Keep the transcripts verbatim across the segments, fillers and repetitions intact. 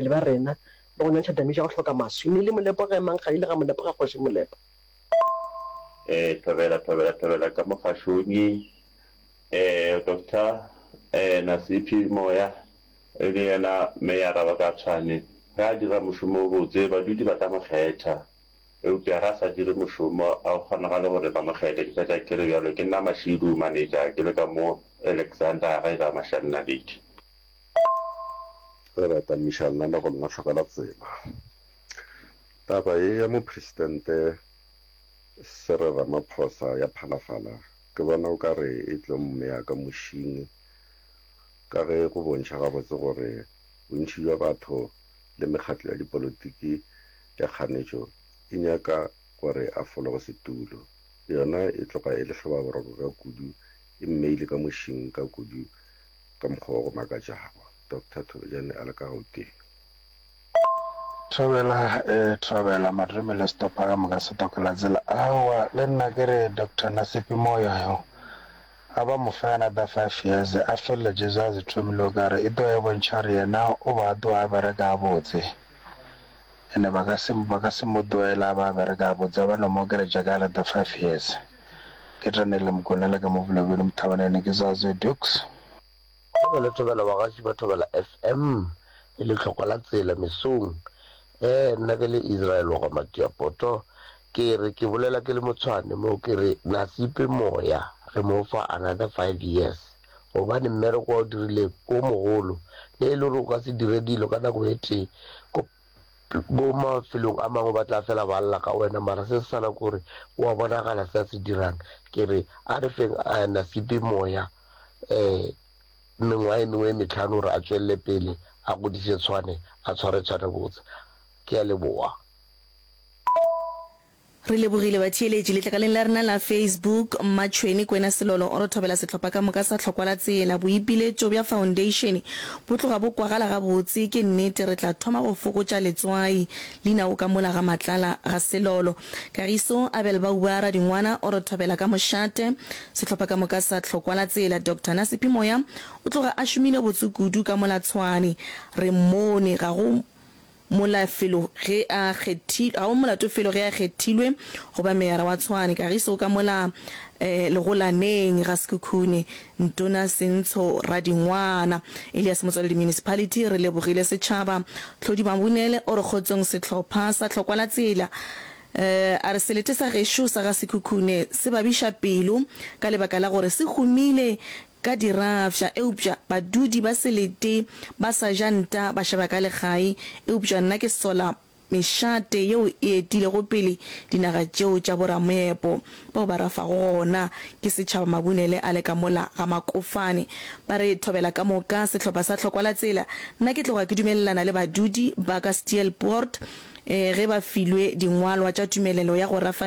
baetapele ba rena le go nyantšha damage ya go hloka maswi. Ne le Molepo ge mang ga ile ga Molepo ga kgoši Molepo. Eh thobela thobela thobela ka mogašongi eh Doctor eh Nasiphi Moya e le yena meyara wa ka Tshwane ge a dira mošomo o botse badudi ba tla mo kgetha eupša ge a sa dire mošomo a go kgonagale gore ba mo kgethe ke fetša ke re bjalo ke nna Mashidu manager ke le ka mo Alexander ge ga Mashanna-Lady. Re ratamiša lenanego lena hlokela tsela. Taba ye ya Mopresidente Cyril Ramaphosa ya Phalafala ke bona o ka re e tlo mmea ka mošing ka ge go bontšha gabotse gore bontši bja batho le mekgatlo ya dipolotiki ya kganetšo e nyaka gore a fologe setulo. Yona e tloga e le hlobaboroko ka kudu, e mmeile ka mošing ka kudu ka mokgwa wa go makatšago. Doctor Thobejane a le ka Gauteng. Thobela, ee, thobela, Madrome le sehlopha ka moka se tokola tsela. Aowa, le nna ke re Doctor Nasiphi Moyo yo, a ba mo fe another five years, a feleletše se a se thomile o ka re e tlo e bontšha gore yena o ba tloga a bereka gabotse. Ene ba ka se, ba ka se mo tlohela a ba a bereka gabotse, a ba no mo okeletša ka another five years. Ke Daniel Mokoena le ka mo Bolobedu Mothabanene ke Zazoe Dukes. Thobela thobela bagaši ba Thobela F M e le hlokwa la tsela mesong. Eh nna ke le Israel wa ga Matiapoto ke re ke bolela ke le motshwane mo ke re Nasipe moya re mo fa another five years gobane mmereko wa o dirileng o mogolo le e le gore o ka se dire dilo ka nako e tee ko ko mafelong a mangwe ba tla fela ba lla ka wena mara se se sana ke gore o a bonagala se a se dirang ke re a re feng Nasipe moya um mengwaga e mengwe e metlhano gore a tswelele pele a godiše Tshwane a tshware Tshwane botse ke a leboga. Re lebogile batheeletši letlakaleng la rena la Facebook. Mmatšhweni Kwena Selolo o re thobela sehlopha ka moka sa Hlokwa la Tsela. Boipiletšo bja foundation bo tloga bo kwagala gabotse. Ke nnete re tla thoma go fokotša letswai. Leina o ka mola ga Matlala ga Selolo. Kagiso Abel Bauba Radingwana o re thobela ka mošate. Sehlopha ka moka sa Hlokwa la Tsela. Doctor Nasiphi Moya o tloga a šomile botse kudu ka mola Tshwane. Re mmone ga go mola felo ge a kgethilwe, ga go molato felo ge a kgethilwe go ba meyara wa Tshwane. Kagiso ka mola eh, Legolaneng ga Sekhukhune, Ntona Sentsho Radingwana. Elias Motswaledi Municipality, re lebogile setšhaba. Tlhodi Mabunele o re kgotsong sehlopha sa Hlokwa la Tsela. Eh, a re selete sa gešo sa ga Sekhukhune se babiša pelo ka lebaka la gore se humile ka dirafša, eupša badudi ba selete ba sa ja nta ba šaba ka legae. Eupša nna ke sola mešate yeo e etilego pele dinaga tšeo tša boramoepo bao ba rafago gona ke setšhaba Mabunele a le ka mola ga Makofane. Ba re thobela ka moka sehlopha sa Hlokwa la Tsela. Nna ke tloga ke dumelelana le badudi ba ka Steelpoort eh, ge ba filwe dingwalwa tša tumelelo ya go rafa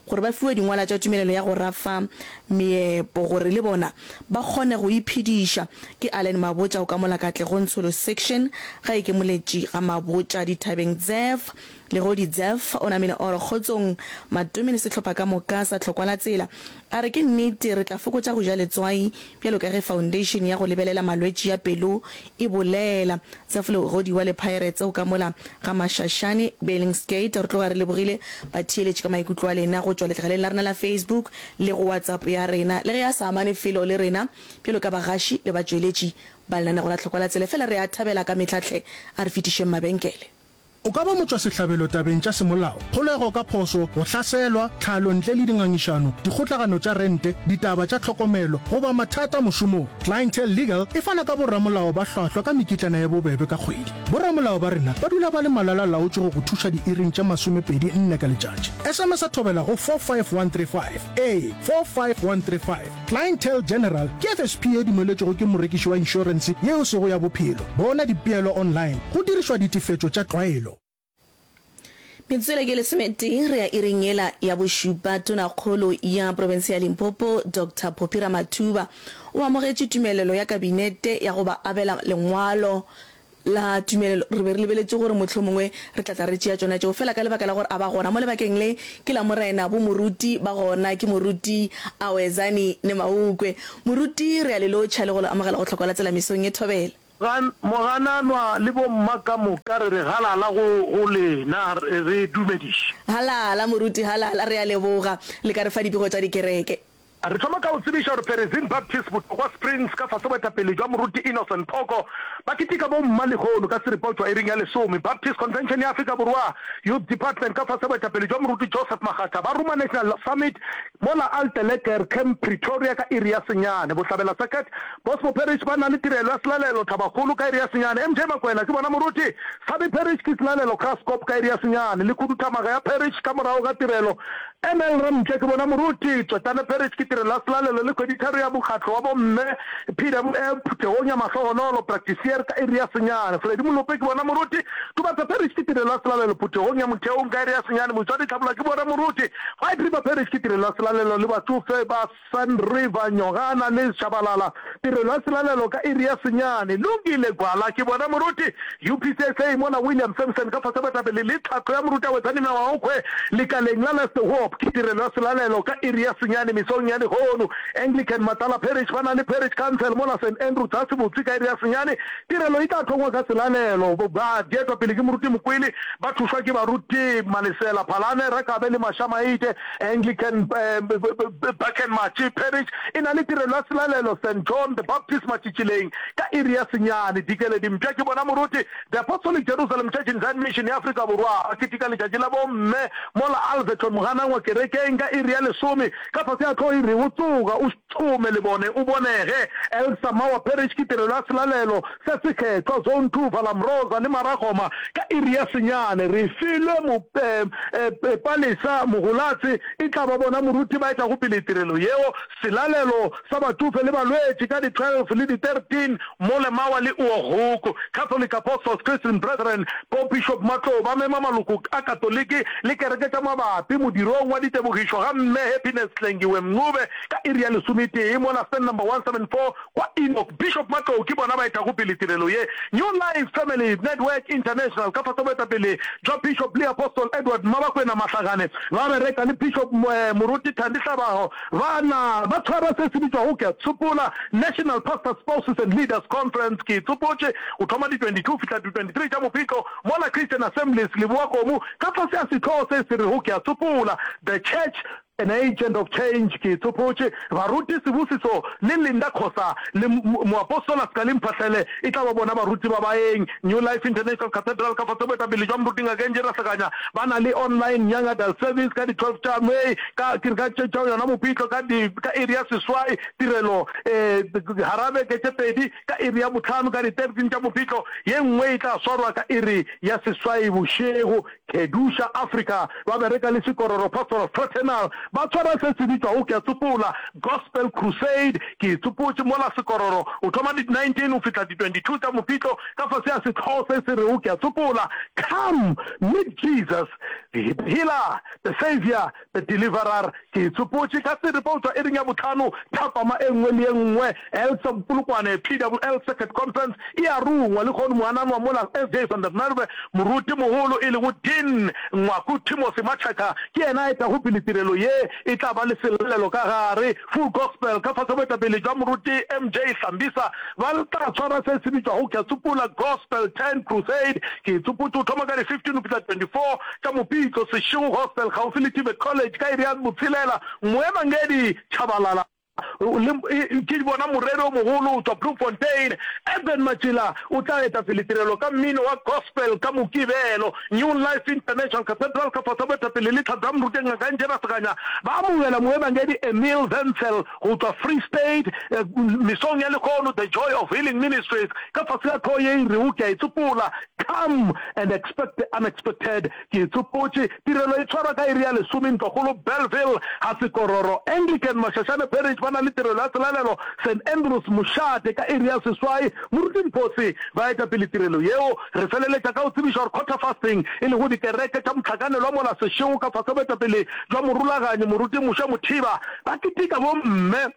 gore ba fiwe dingwala tša tumelelo ya go rafa meepo gore le bona ba kgone go iphediša. Ke Allen Mabotja o ka mola Katlego Ntsholo Section ga e ke moletši ga Mabotja dithabeng Dzef Legodi Dzef o namile oro kgotsong Matome le sehlopha ka moka sa Hlokwa la Tsela. A re ke nnete re tla fokotša go ja letswai bjalo ka ge foundation ya go lebelela malwetši ya pelo e bolela. Dzef Legodi wa le Pirates o ka mola ga Mashashane Billingsgate. Re tloga re lebogile batheeletši ka maikutlo a lena go tšwa letlakaleng la rena la Facebook le go WhatsApp ya rena. Le ge a sa amane felo le rena bjalo ka bagaši le batšweletši ba lenanego la Hlokwa la Tsela, fela re a thabela ka mehla hle a re fetišeng mabenkele. O ka ba motšwasehlabelo tabeng tša semolao, kgolego ka phošo, go hlaselwa, tlhalo ntle le dingangišano, dikgotlagano tša rente, ditaba tša tlhokomelo, goba mathata mošomong. Clientele Legal e fana ka boramolao ba hlwahlwa ka mekitlana ye bobebe ka kgwedi. Boramolao ba rena ba dula ba le malala-laotšwe go go thuša diiring tše masomepedi nne ka letšatši. S M S a thobela go four five one three five. Ee, four five one three five. Clientele General ke F S P ye dumeletšwego ke morekiši wa inšorense ye e sego ya bophelo. Bona dipeelo online go dirišwa ditefetšo tša tlwaelo. Metswele ke lesometee re ya iring yela ya bošupa. Tonakgolo ya profense ya Limpopo Doctor Phophi Ramathuba o amogetše tumelelo ya kabinete ya go ba abela lengwalo la tumelelo. Re be re lebeletše gore mohlomongwe re tla tla re tšea tšona tšeo, fela ka lebaka la gore a ba gona mo lebakeng le ke la Morena, bo moruti ba gona ke moruti Awezani Nemaukwe. Moruti, re a le lotšha le go le amogela go Hlokwa la Tsela mesong ye thobela. Mogananwa le bomma ka moka re re halala go, go lena, re, re dumediše. Halala, moruti, halala, re a leboga. Le ka re fa dipego tša dikereke. Re thoma ka go tsebiša gore Perizin Baptist Botlokwa Springs ka fase boetapele jwa Moruti Innocent Phoko ba keteka bomma lehono ka seripa go tšwa iring ya lesome. Baptist Convention ya Afrika Borwa Youth Department ka fase boetapele jwa Moruti Joseph Makgatha ba ruma National Summit mola Alteleker Camp Pretoria ka iri ya senyane. Bohlabela Circuit Bosmo Parish ba na le tirelo ya selalelo Thabakgolo ka iri ya senyane. M J Makwena ke bona Moruti Sabi Parish ke selalelo Graskop ka iri ya senyane le khuduthamaga ya Parish ka morago ga tirelo M L Ramtše ke bona Moruti Tswetane Parish ke tirelo ya selalelo le kgweditharo ya Mokgatlo wa Bomme, P W F, phuthegong ya Mahlohonolo, Praktisier, ka iri ya senyane. Freddy Molope ke bona Moruti Tubatse Parish ke tirelo ya selalelo phuthegong ya Motheong ka iri ya senyane. Motswadi Tlhabola ke bona Moruti White River Parish ke tirelo ya selalelo le batšofe ba Sun River, Nyogana le Shabalala, tirelo ya selalelo ka iri ya senyane. Lungile Gwala ke bona Moruti U P C S A mola William Sampson ka fase boetapele le tlhahlo ya Moruti Awetsani Mawaokhwe lekaleng la Last Hope ke tirelo ya selalelo ka iri ya senyane mesong ya lehono. Anglican Matala Parish ba na le Parish Council mola Saint Andrew Tlase Botse ka iri ya senyane. Tirelo e tla thongwa ka selalelo. Ba dietwa pele ke Moruti Mokwele ba thušwa ke baruti Malesela Phalane, Rakabe le Mashamaite. Anglican Bakken Matši Parish e na le tirelo ya selalelo Saint John the Baptist Matšitšileng ka iri ya senyane. Dikeledi Mpša ke bona moruti The Apostolic Jerusalem Church in Zion Mission ya Afrika Borwa ba keteka letšatši la bomme mola Alverton Moganangwa kerekeng ka iri ya lesome ka fase ga hlogo e rego Tsoga o šome lebone o bonege. Elsa Mawa Parish ke tirelo ya selalelo se sekgethwa Zone Two Valamrosa le Maragoma ka iri ya senyane. Refilwe Palesa Mogolatse e tla ba bona moruti ba etago pele tirelo yeo. Selalelo sa batšofe le balwetši ka di twelve le di thirteen mo Lemawa le Oorhoek. Catholic Apostles Christian Brethren bo Bishop Matlou ba mema maloko a Katoliki le kereke tša mabapi modirong wa ditebogišo ga Mme Happiness Hlengiwe Mncube ka iri ya lesometee mola stand number one seven four kwa Enoch. Bishop Matlou ke bona ba etago pele tirelo ye. New Life Family Network International ka fase boetapele jwa Bishop le Apostle Edward Mmabakwena Mahlagane ba bereka le Bishop Moruti Thandi Hlabago ba na ba tshwara se se bitšwago Ke a Tsopola National Pastors Spouses and Leaders Conference Ke Tsopotše go thoma di twenty two fihla di twenty three tša Mopitlo mola Christian Assemblies Lebowakgomo ka fase ga sehlogo se se rego Ke a Tsopola The Church An Agent of Change Ke Tsopotše Baruti Sibusiso le Linda Khosa le Moapostola Skaleng Phahlele e tla ba bona baruti ba baeng New Life International Cathedral ka fase boetapele jwa Moruti Ngaka Angie Rasekanya ba na le online Young Adult Service ka di twelve tša May ka ke re ka tša yona Mopitlo ka di ka iri ya seswai tirelo eh gara beke tše pedi ka iri ya bohlano ka di thirteen tša Mopitlo ye nngwe e tla swarwa ka iri ya seswai bošego Kedusha Africa ba bereka le Sekororo Pastoral Fraternal ba tshwara se se bitšwago Ke a Tsopola Gospel Crusade. Ke e tsopotše mola Sekororo o thoma di nineteen go fihla di twenty two tša Mopitlo ka fase ga sehlogo se se rego Ke a Tsopola, Come Meet Jesus, the Healer, the Saviour, the Deliverer. Ke e tsopotše ka seripa go tšwa iring ya bohlano thapama e nngwe le ye nngwe. Elsa Polokwane, P W L Circuit Conference e a rungwa lehono moananwa mola S J van der Merwe, moruti mogolo e lego Dean Ngwaku Timothy Machaka ke yena a etago pele tirelo ye e tla ba le selalelo ka gare. Full Gospel ka fase boetapele jwa moruti M J Hlambisa ba tla tshwara se se bitšwago Ke a Tsopola Gospel Tent Crusade. Ke e tsopotše go thoma ka di fifteen go fihla twenty four tša Mopitlo, Seshego Gospel kgauswi le Tibet College ka iri ya botshelela. Moebangedi Tshabalala le ke bona moreri o mogolo go tšwa Bloemfontein, Eben Matšila o tla eta pele tirelo ka mmino wa gospel ka Mokibelo. New Life International Cathedral ka fase ga boetapele le tlhahlo ya Moruti Ngaka Njera Seganya ba amogela moebangedi Emil Wenzel go tšwa Free State mesong ya lehono. The Joy of Healing Ministries ka fase ga hlogo ye e rego Ke a e Tsopola, Come and Expect the Unexpected. Ke e tsopotše. Tirelo e tshwarwa ka iri ya lesome Ntlokgolo Bellville ga Sekororo. Anglican Mashashane Parish ba na le tirelo ya selalelo Saint Andrews Mošate ka iri ya seswai. Moruti Mphosi ba eta pele tirelo yeo. Re feleletša ka go tsebiša gore Quarter Fasting e lego dikereke tša mohlakanelwa mola Seshego ka fase boetapele jwa morulaganyi Moruti Moshe Mothiba ba keteka bomme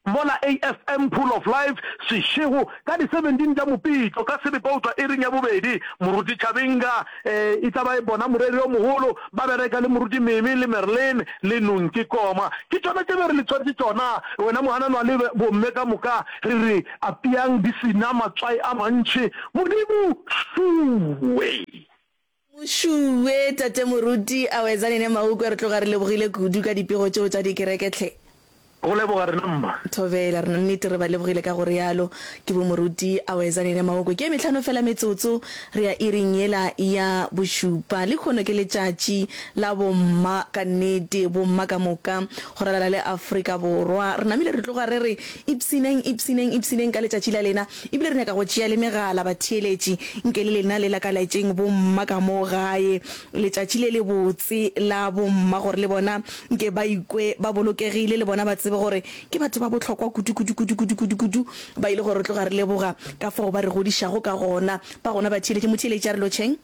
mola A F M Pool of Life, Seshego, ka di seventeen tša Mopitlo, ka seripa go tšwa iring ya bobedi. Moruti Chabinga e tla ba e bona moreri yo mogolo, ba bereka le Moruti Mimi le Merlin le Nonki Koma. Ke tšona tše be re le tshwaretše tšona, wena mohananwa le bomme ka moka, re re apeang di se na matswai a mantši. Modimo šuwe! Mošuwe, Tate Moruti, Awezani ne Maukwe, re tloga re lebogile kudu ka dipego tšeo tša dikereke hle. Go leboga rena mma. Thobela, re nnete re ba lebogile ka go realo. Ke bo Moruti Awezani ne Maukwe. Ke ye mehlano fela metsotso re ya iring yela ya bošupa. Lehono ke letšatši la bomma ka nnete, bomma ka moka go ralala le Afrika Borwa. Re namile re tloga re re ipshineng, ipshineng, ipshineng ka letšatši la lena. Ebile re nyaka go tšea le megala, batheeletši, nke le lena le lakaletšeng bomma ka mo gae letšatši le lebotse la bomma, gore le bona nke ba ikwe ba bolokegile, le bona ba tsebe gore ke batho ba bohlokwa kudu, kudu, kudu, kudu, kudu, kudu, ba ile gore re tloga re leboga ka fao ba re godišago ka gona. Ba gona batheeletši, motheeletši a re lotšheng.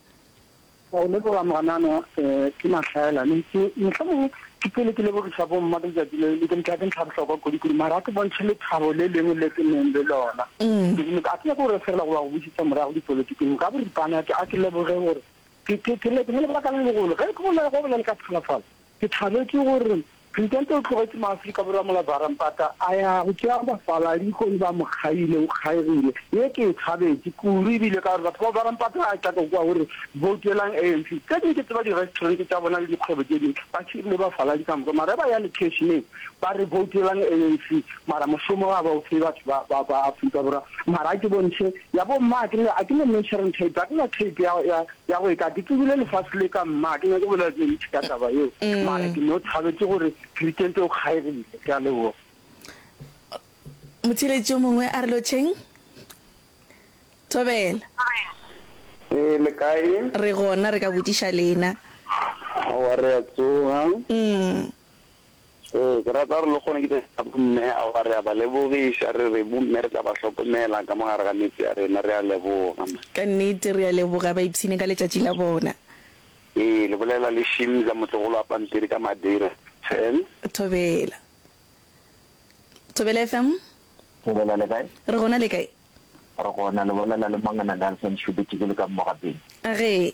Go leboga Moganano, ke mahlaelane. Ke mohlomongwe ke pele ke lebogiša bomma ka letšatši le, le ke ntlha ke ntlha bohlokwa kudu-kudu, mara a ke bontšhe lethabo le lengwe le ke neng le lona. Ke a ke nyake go referela goba go bušetša morago dipolotiking. Ka boripana a ke leboge gore ke ke ke le ke ne lebaka le legolo ge ke bolela go bolela ka phalafala. Ke thabetše gore Presidente o tlogetše maAfrika Borwa mola Varampata a ya go tšea bafaladi gomme ba mo kgaile, o kgaegile. Ye ke e thabetše kudu ebile ka gore batho ba Varampata ga ke tla kwa gore voutelang A N C. Tše dingwe ke tseba di-restaurant tša bona le dikgwebo tše dingwe ba hirile bafaladi ka moka mara ge ba ya lekeišeneng ba re voutelang A N C mara mošomo ga ba o fe batho ba, ba, ba Afrika Borwa. Mara a ke bontšhe ya bomma, ga ke na, ga ke na measuring tape, ga ke na tape ya, ya, Ya go eka ke tsebile lefase le ka mma, ke nyake bolela tše ntši ka taba yeo, mara ke no thabetše gore Presidente o kgaegile. Ke a leboga. Motheeletši yo mongwe a re lotšheng. Thobela. Ee, le kae? Re gona, re ka botšiša lena. Aowa, re a tsoga. Ee, ke rata gore le kgone ke tša bomme, aowa re a ba lebogiša, re re bomme re tla ba hlokomela ka mo gare ga metse ya rena, re a leboga. Ka nnete re a leboga, ba ipshine ka letšatši la bona. Ee, le bolela le Shimza, motlogolo wa pampiri ka Madeira. Ten. Thobela. Thobela F M. Thobela, le kae? Re gona, le kae? Re gona, le bolela le Mangana Nelson Shubetše ke le ka Mogapeng. Age.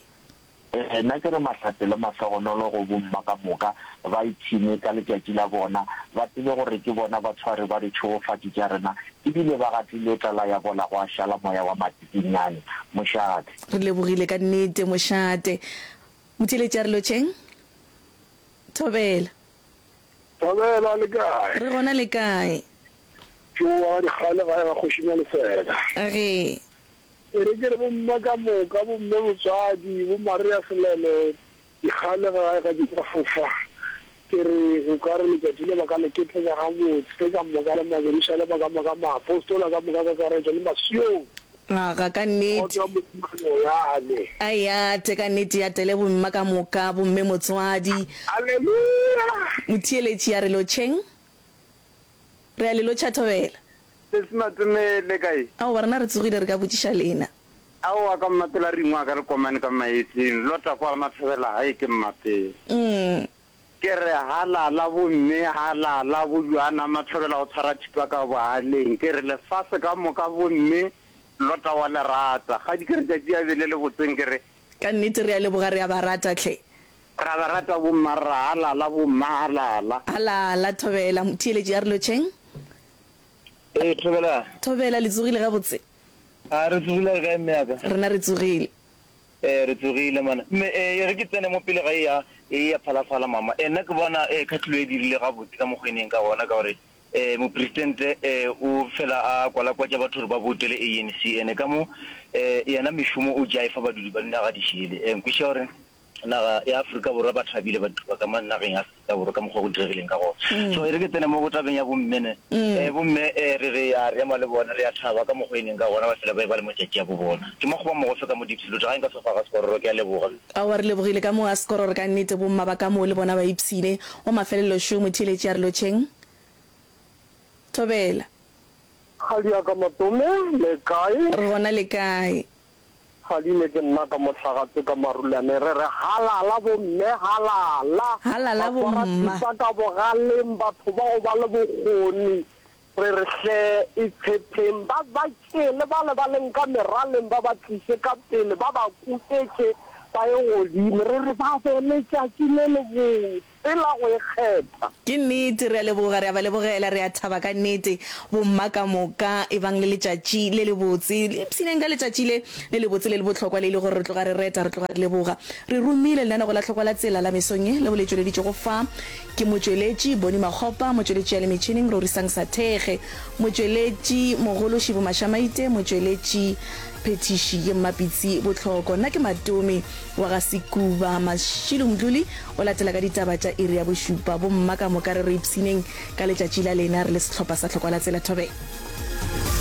Ee, nna ke re mahlatse le mahlogonolo go bomma ka moka, ba ipshine ka letšatši la bona, ba tsebe gore ke bona batshwari ba ditšhegofatši tša rena, e bile ba gatile tlala ya bola gwa šala moya wa matsikinyane. Mošate. Re lebogile ka nnete, mošate. Motheeletši a re lotšheng. Thobela. Thobela, le kae? Re gona, le kae? Ke wa ga Dikgale gae ga Kgoši Malefela. Age. E re ke re bomma ka moka, bomme botswadi, bo Maria Selelo, dikgale gae ga di ka fofa. Ke re o ka re letšatši le ba ka le keteka gabotse ka moka le Majerusalema ka moka, maapostola ka moka kakaretšo le Masione. Aga, ka nnete. Kgotso ya Modimo a no yane. A yate, ka nnete ya tele bomma ka moka, bomme motswadi. Aleluya! Motheeletši a re lotšheng. Re a le lotšha Thobela. Sesi Matome, le kae? Aowa, rena re tsogile, re ka botšiša lena. Aowa, ka Mmapela re ingwaka re komane ka maetseng, lota kwa Mathobela gae ke Mmapela. Ke re halala bomme, halala boJoana Mathobela o tshwara thipa ka bogaleng. Ke re lefase ka moka bomme, lota wa le rata. Kgadi ke re tšatši a be le le botseng ke re. Ka nnete re a leboga, re a ba rata hle. Ra ba rata bomma rra, halala bomma halala. Halala Thobela, motheeletši a re lotšheng. Ee Thobela. Thobela, le tsogile gabotse? A re tsogile re kae mme ya ka? Rena re tsogile. Ee re tsogile mana. Mme e re ke tsene mo pele ga e ya e ya phalafala mama. E nna ke bona e khatlhilo e dirile gabotse ka mokgwa e neng ka gona ka gore e mopresidente e o fela a kwalakwatša batho gore ba boutele A N C ene ka mo e yena mešomo o tšea e fa badudi ba dinaga di šele. E nkwešiša gore naga ya Afrika Borwa ba thabile batho ba ka mo nageng ya Afrika Borwa ka mokgwa go diregileng ka gona. So e re ke tsene mo go tabeng ya bomme ne. Eh bomme eh re re a re ema le bona re a thaba ka mokgwa e neng ka gona ba fela ba e ba le matšatši a bo bona. Ke makgoba mogofe ka mo Diepsloot ga nka sofa ga Sekororo ke a leboga. Aowa re lebogile ka mo ga Sekororo ka nnete bomma ba ka moo le bona ba ipshine. Wa mafelelo šo motheeletši a re lotšheng. Thobela. Kgadi ya ka Matome, le kae? Re gona le kae? Kgadile ke nna ka mohlagatse ka marulane re re halala bomme halala. Halala Ba swara bomma. thipa ka bogaleng batho ba go ba le bokgoni Re re hle itshepheng, ba ba tšee le bale ba leng ka meraleng ba ba tliše ka pele, ba ba kuketše ba ye godimo. Re re ba be letšatši le lebotse la go ikgetha. Ke nnete, re a leboga, re a ba lebogela, re a thaba ka nnete. Bomma ka moka, ebang le letšatši le lebotse. Le ipshineng ka letšatši le le lebotse le le bohlokwa le e le gore re tloga re reta, re tloga re leboga. Re romile lenanego la Hlokwa la Tsela la mesong ye, leo le tšweleditšwego fa ke motšweletši Bonnie Makgopa, motšweletši ya le metšhineng Rorisang Sathekge, motšweletši mogolo Shibu Mashamaite, motšweletši phethiši ye Mmapitsi Bohloko. Nna ke Matome wa ga Sekuba. Mashilo Mdluli o latela ka ditaba tša iri ya bošupa. Bomma ka moka re re ipshineng ka letšatši la lena re le sehlopha sa Hlokwa la Tsela. Thobela.